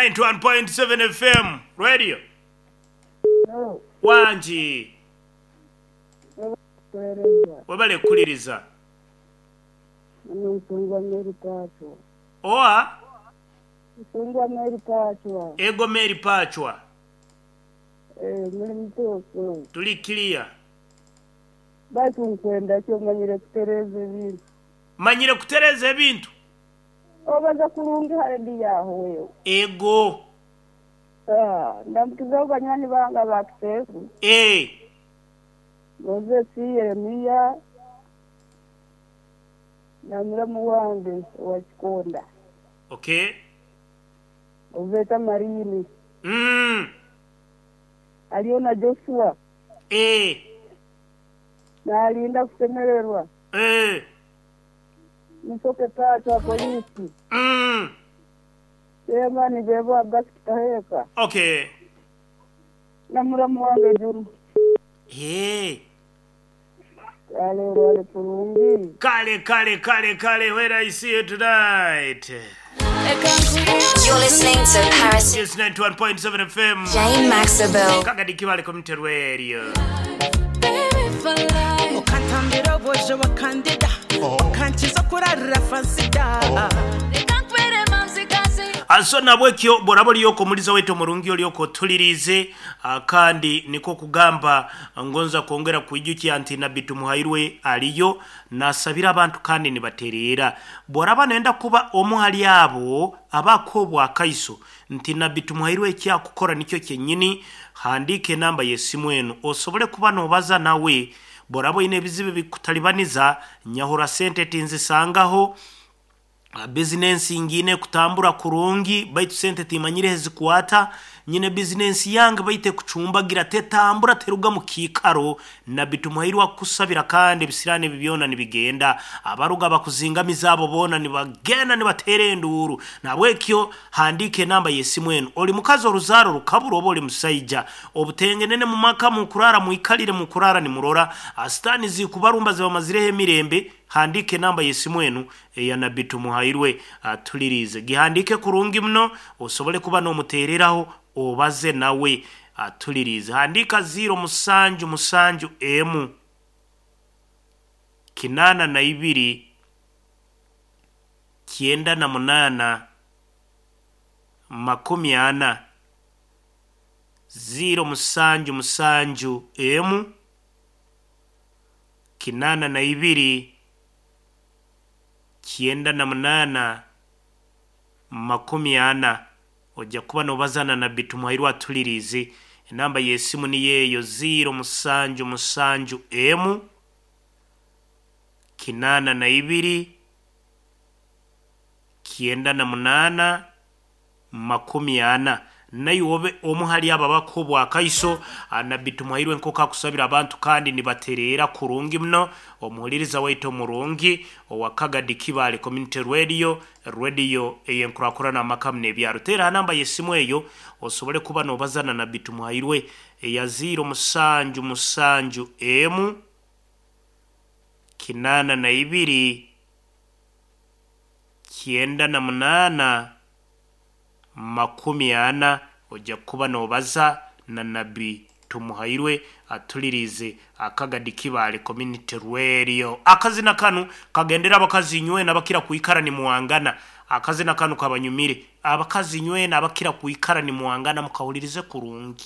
91.7 FM Radio. Wangi. Webale kukuliriza. Oa? Ego Mary Pachwa. Tuli clear. Baitu nkwenda ki omanyire kutereeza ebintu? Manyire kutereeza ebintu. Obaza kurungi ha rediyo aho wewe. Ego. Ah, ndamukizaho banywani bange aba Kiteezi. Ee. Moses, Yeremiya na muramu wange owa Kikonda. Okay. Ou beeta Marini. Mm. Hariyo na Joshua. Ee. Naalinda kushemererwa. Ee. Musoke Pacho wa poliisi. Mm. Chairman Bebo Abbas Kitaheeka. Okay. Na muramu wange Juma. Ee. Kale olwale kurungi. Kale kale kale kale when I see you tonight. You're listening to Paris It's 91.7 FM. Jane Maxabel. Kagadi Kibale Community Radio. Ukantambira obwojo wakandida ukankiza kurarira fansida. So nabwekyo bworaba olyoka omuliza waitu omurungi olyoka otulirize, kandi niko kugamba ngonza kwongera kwijukya nti Nabbi Tumuhairwe aliyo nasabira abantu kandi nibatereera. Bworaba nenda kuba omu hali abo abako obwakaiso nti Nabbi Tumuhairwe ekyakukora nikyo kyenyini, handiika enamba y'esimu enu osobole kuba nobaza nawe. Bworaba oine ebizibu bikutalibaniza, nyahura sente tinzisangaho, bizinensi ngine kutambura kurungi baitu sente timanyire ezikwata, nyine bizinensi yange baite kucumbagira tetambura teruga mu kiikaro. Nabbi Tumuhairwe akusabira kandi ebisirani ebi byona nibigenda, abaruga bakuzingamiza abo boona nibagenda nibateera enduuru. Nabwekyo handiika enamba y'esimu enu. Oli mukazi oruzaaro rukabura oba oli musaija, obutengenene mu maka mukurara mwikalire mukurara nimurora sitaani zikubarumba zibamazireho emirembe. Handiika enamba y'esimu enu eya Nabbi Tumuhairwe atulirize, gihandiike kurungi muno osobole kuba n'omuteereraho obaze nawe atulirize. Handiika 0 musanju musanju emu 82 98 40, 0 musanju musanju emu 82 98 40. Ojja kuba nobazana Nabbi Tumuhairwe atulirize. Enamba y'esimu niyo eyo 0 musanju musanju emu 82 98 40. Naye obe omu hali abo abako obwakaiso Nabbi Tumuhairwe nk'oku akusabira abantu kandi nibatereera kurungi muno. Omuhuliriza waitu omurungi owa Kagadi Kibale Community Radio, radio ey'enkurakurana amaka muno ebyaro. Teera ha namba y'esimu eyo osobole kuba nobazana Nabbi Tumuhairwe eya 0 musanju musanju emu 82 98 40. Ojja kuba nobaza na Nabbi Tumuhairwe atulirize Akagadi Kibale Community Radio. Akazina kanu kagendera abakazi nywena abakira kwikara nimuwangana. Akazina kanu kabanyumire abakazi nywena abakira kwikara nimuwangana, mukahulirize kurungi.